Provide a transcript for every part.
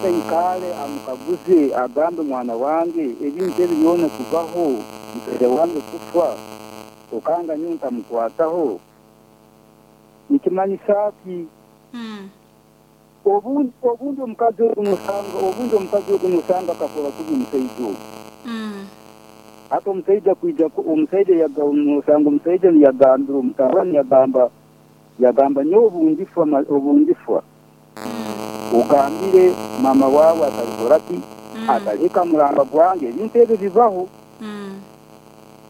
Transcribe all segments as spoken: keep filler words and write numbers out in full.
Aikale amukaguze, agambe, "Mwana wange, ebintu ebi byona kubaho, musaija wange kufa, okanga nyowe ntamukwataho, nikimanyisa ki?" Mm. Obundi obundi omukazi ogu nosanga obundi omukazi ogu nosanga akakora kubi omusaija ogu. Mm. Hati omusaija kwija omusaija yaga nosanga omusaija niyagambira omutabani, yagamba yagamba "Nyowe obundifa obundifa Mm. ogambire mama wawe atalikora ki, Mm. atalihika muramba gwange." Ebintu ebyo bibaho. Mm.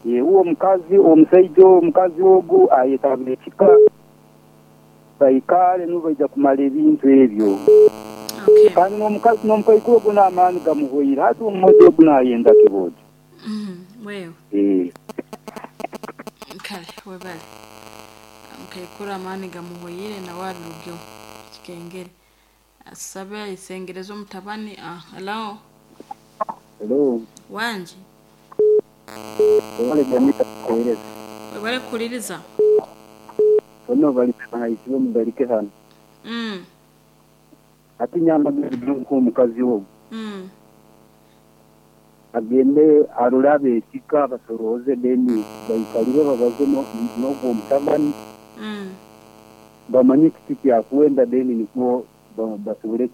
Uwo omukazi omusaija omukazi ogu ayetaba ekika, baikale nibo baija kumara ebintu ebyo. Okay. Kandi n'omukazi n'omukaikuru ogu n'amaani gamuhweire, hati omwojo ogu nayenda kibojo. Mm. Wewe. Eh. Kale webale. Mukaikuru amaani gamuhweire nawe abirugeho kikengere. Asabe ayisengereze omutabani. Ah, hello. Hello. Wangi. Webale Janita kuheereza. Webale kuhuliriza. Bono bali bahayisibe mugarike hano. Mm. Hati nyamba nk'omukazi ogu. Mm. Agende arore ab'ekika basorooze, then baikalire babaze n'ogwo omutabani. Mm. Bamanye kiki kyakwenda, then nikwo basobole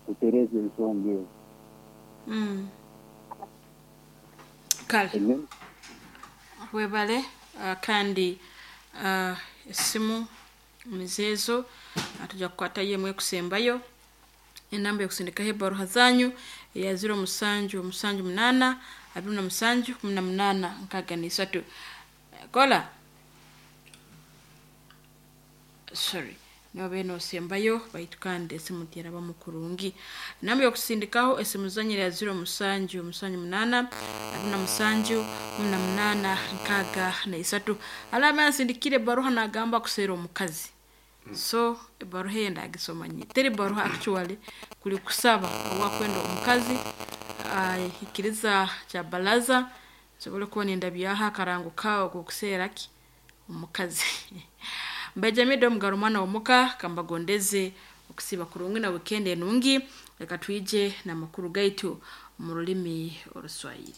kutereeza ensonga ezo. Mm. Kale. Webale uh, kandi uh, esimu mizeezo tujja kukwatayo emwe ekusembayo. Enamba yokusindikaho ebaruha zanyu eya ziro musanju musanju munana abiri na musanju kumi na munana nkaaga n'isatu. Kola, sorry, niba nosembayo baitu kandi esimu terabamu kurungi. Enamba yokusindikaho esimu zanyu ya ziro musanju musanju munana abiri na musanju kumi na munana nkaaga na isatu. Alaba yansindikire ebaruha nagamba kuseera omukazi. So ebaruha eyo ndagisoma nyi teri baruha, actually kuli kusaba owakwenda omukazi ahikiriza kya balaza nsobole kuba nindabyaho akarango kawe kokuseera ki omukazi. Mbejamide omugaro mwana womuka, kambagondeze okusiba kurungi na weekend enungi. Leka twije n'amakuru gaitu mu rulimi Oruswahili.